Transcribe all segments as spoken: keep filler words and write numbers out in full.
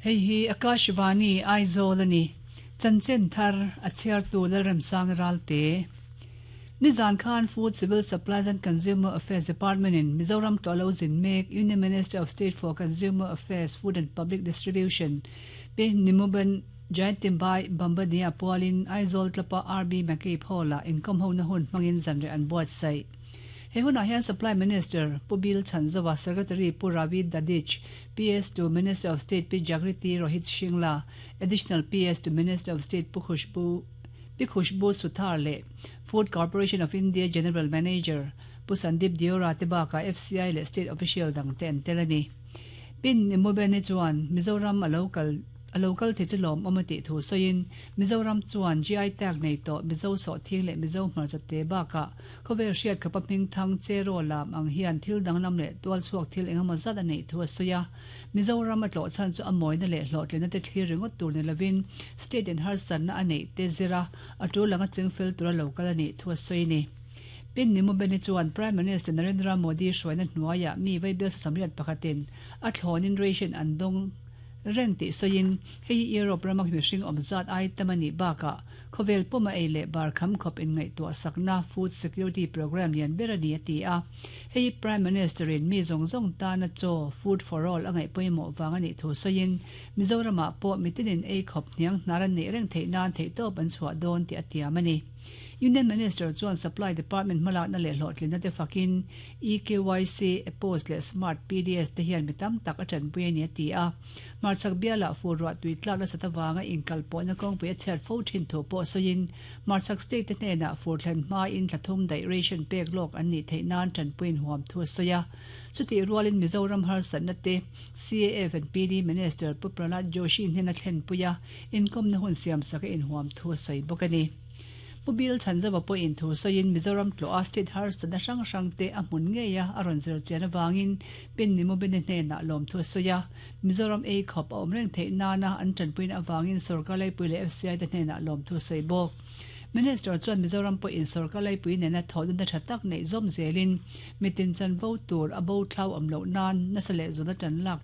Hei hi Akashvani Aizawl ani. Chanchin thar a chhiartu Lalremsang Ralte. Nizan khan Food Civil Supplies and Consumer Affairs Department in Mizoram tlawh zin mek Union Minister of State for Consumer Affairs, Food and Public Distribution Pi Nimuben Jayantibhai Bambhaniya pualin Aizawl tlapa R B McCabe Hall-ah inkawm hona hun hmangin zanriah an buatsaih. He hunah hian Supply Minister Pu Bill Chhanzova, Secretary Pu Ravi Dadhich, P S to Minister of State Pi Jagriti Rohit Shingla, Additional P S to Minister of State Pu Khushbu Pi Khushbu Suthar leh Food Corporation of India General Manager Pu Sandeep Deora te bakah F C I leh State Official dang te an tel a ni. Pi Nimuben chuan Mizoram a local a local the chu lawm awm a tih thu sawiin Mizoram chuan G I tag nei tawh Mizo sawhthing leh Mizo hmarcha te bakah khawvel hriat khapa hming thang cheraw lam ang hian thil danglam leh tual chhuak thil engemaw zat a neih thu a sawi a. Mizoram a tlawh chhan chu a mawina leh hlawhtlinna te thlir ringawt tur ni lovin state in harsatna a neih te zira a tul anga chingfel tura local a nih thu a sawi ni. Pi Nimubeni chuan Prime Minister Narendra Modi hruaina hnuaiah mi vaibel sawmriat pakhatin a thlawnin ration an dawng reng tih sawiin hei hi Europe rama mihring awm zat ai tam a nih bakah khawvel puma ei leh bar kham khawp in ngaihtuah sakna food security program lian ber a ni a ti a. Hei Prime Minister in mi zawng zawng tana chaw food for all a ngaih pawimawh wang a nih thu sawiin Mizoramah pawh mitinin ei khawp hniang hnar an neih reng theih nan theihtawp an chhuah dawn tih a tiam a ni. Union Minister chuan Supply Department hmalakna leh hlawhtlinna te fakin E K Y C, E P O S leh Smart P D S te hian mi tam tak a tanpui a ni a ti a. Hmarchhak bialah fur ruah tui tlak nasat awanga inkal pawhna kawngpui a chhiat fo thin thu pawh sawiin hmarchhak state te hnenah fur thlen hma in thlathum daih ration pek lawk an nih theih nan tanpuiin huam thu a sawi a. Chuti rualin Mizoram harsatna te C A F and P D Minister Pu Prahlad Joshi hnena thlen puia inkawmna hun siam saka inhuam thu a sawi bawk a ni. Pu Bill Chhanzova pawhin thu sawiin Mizoram tlawh a state harsatna hrang hrang te a hmun ngei a a rawn zir chian awangin Pi Nimubeni hnenah lawm thu a sawi a. Mizoram ei khawp a awm reng theih nana an tanpuina awangin Sorkar Laipui leh F C I te hnenah lawm thu a sawi bawk. Minister chuan Mizoram pawhin Sorkar Laipui nena thawhdunna tha tak neih zawm zelin mitin chanvo tur a bo thlau awm loh nan nasa leh zuna tan lak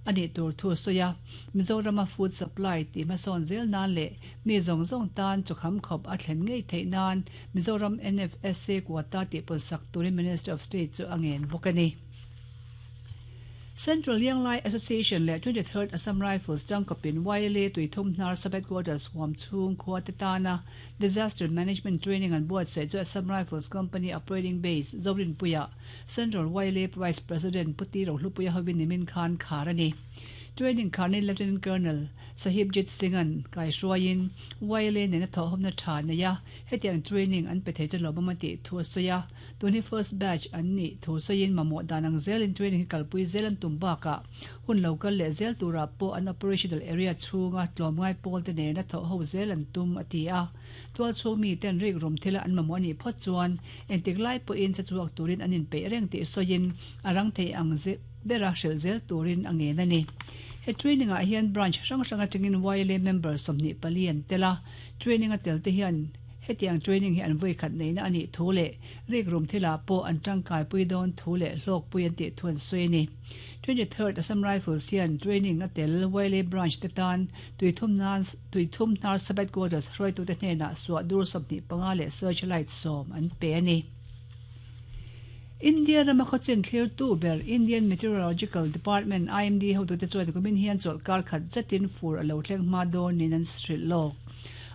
ani tur thu sawi a. Mizorama food supply ti hmasawn zel nan leh mi zawng zawng tan chawkham khawp a thlen ngei theih nan Mizoram N F S A quota tih pun sak turin Minister of State chu a ngen bawk a ni. Central Lianglai Association leh twenty-third Assam Rifles tangkawpin Y L A Tuithum Hnar Sub Headquarters huam chhung khua te tana Disaster Management Training an buatsaih chu Assam Rifles Company Operating Base Zorinpuia Central Y L A Vice President Puti Rohlupuia hovin nimin khan khar a ni. Training kharni Lieutenant Colonel Sahibjit Singh-an kai hruaiin Y L A nena thawhawmna tha neia hetiang training an pe thei chu lawmawm a tih thu a sawi a. Tuni first batch an nih thu sawiin mamawh dan ang zelin training hi kalpui zel an tum bakah hun local leh zel turah pawh an operational area chhunga tlawmngai pawl te nena thawh ho zel an tum a ti a. Tual chhung mi ten rik rum thila an mamawh ani phawt chuan entik lai pawhin che chuak turin an inpeih reng tih sawiin a rang thei ang bera hrel zel turin a ngen a ni. He training ah hian branch hrang hrang atangin Y L A member sawmhnih pali an tel a. Training a tel te hian hetiang training hi an voi khat neina ani thu leh rik rum thila pawh an tangkai pui dawn thu leh hlawk pui an tih thu an sawi a ni. twenty-third Assam Rifles hian training a tel Y L A branch te tan tuithum nan Tuithum Hnar Sub Headquarters hruaitu te hnenah suah dur sawmhnih panga leh searchlight sawm an pe a ni. India rama khawchin thlir tu ber Indian Meteorological Department I M D hotu te chuan kumin hian chawlhkar khat zetin fur a lo thleng hma dawn nin an hrilh lawk.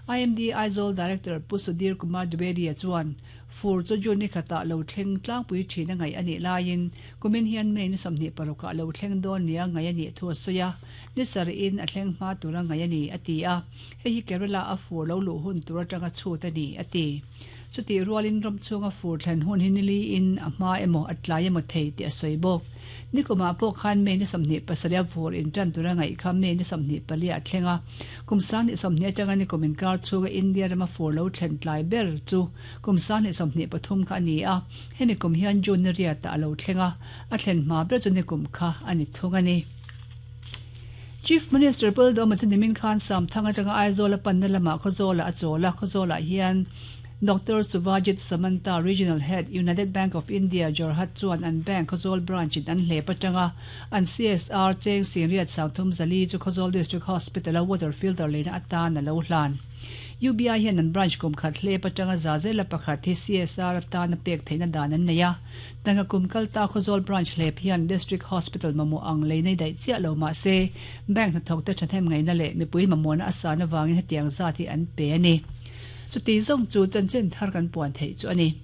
I M D Aizawl Director Pu Sudhir Kumar Dwivedi chuan fur chu June ni khatah lo thleng tlangpui thin a ngaih ani laiin kumin hian May ni sawmhnih parukah lo thleng dawn nia ngaih ani thu a sawi a. Ni sarih in a thleng hma tura ngaih ani a ti a. Hei hi Kerala a fur lo luh hun tur atanga chhut ani a ti. Chuti rualin ram chhunga fur thlen hun hi nili in a hma emaw a tlai emaw thei tih a sawi bawk. Nikuma pawh khan May ni sawmhnih pasarih a fur in tan tura ngaih kha May ni sawmhnih pali a thlenga. Kum sang hnih sawmhnih atanga ni kumin kar chhunga India rama fur lo thlen tlai ber chu kum sang hnih sawmhnih pathum kha ani a. Hemi kum hian June ni riat a lo thlenga a thlen hma ber chu ni kum kha ani thung ani. Chief Minister Pu Lalduhoma chu nimin khan Samthang atanga Aizawl a panna lamah Khawzawla a chawla. Khawzawla hian Doctor Suvajit Samanta, Regional Head, United Bank of India, Jorhat chuan an bank Khawzawl branch in an hlep atanga an C S R cheng singriat sangthum zali chu Khawzawl District Hospital a water filter leina atan a lo hlan. U B I hian an branch kum khat hlep atanga za zela pakhat hi C S R atan a pek theihna dan an nei a. Tanga kum kalta Khawzawl branch hlep hian District Hospital mamawh ang lei nei daih chiah lo mah se, bank hnathawk te thahnem ngaihna leh mipui mamawhna a san avangin hetiang zat hi an pe a ni. Chuti zawng chu chanchin thar kan puan theih chu a ni.